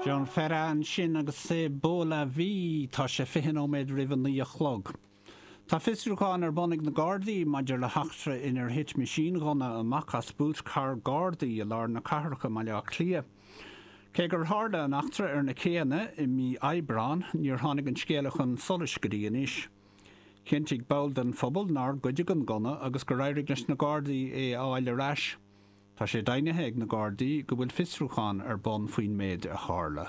Jean Ferrat ansin agus C'est beau la vie. Tá sé 20 nóiméad roimh a 9 a chlog. Tá fiosrúchán ar bun ag na Gardaí maidir le heachtra inar thit meaisínghunna amach as búit carr Gardaí i lár na cathrach i mBaile Átha Cliath. Cé gur tharla an eachtra ar na céanna i mí Aibreáin, níor tháinig an scéala chun solais go dtí anois. Chinntigh ball den phobal nár goideadh an gunna agus gur éirigh leis na Gardaí é a fháil ar ais. Tá sé deimhnithe ag na Gardaí go bhfuil fiosrúchán ar bun faoin méid a tharla.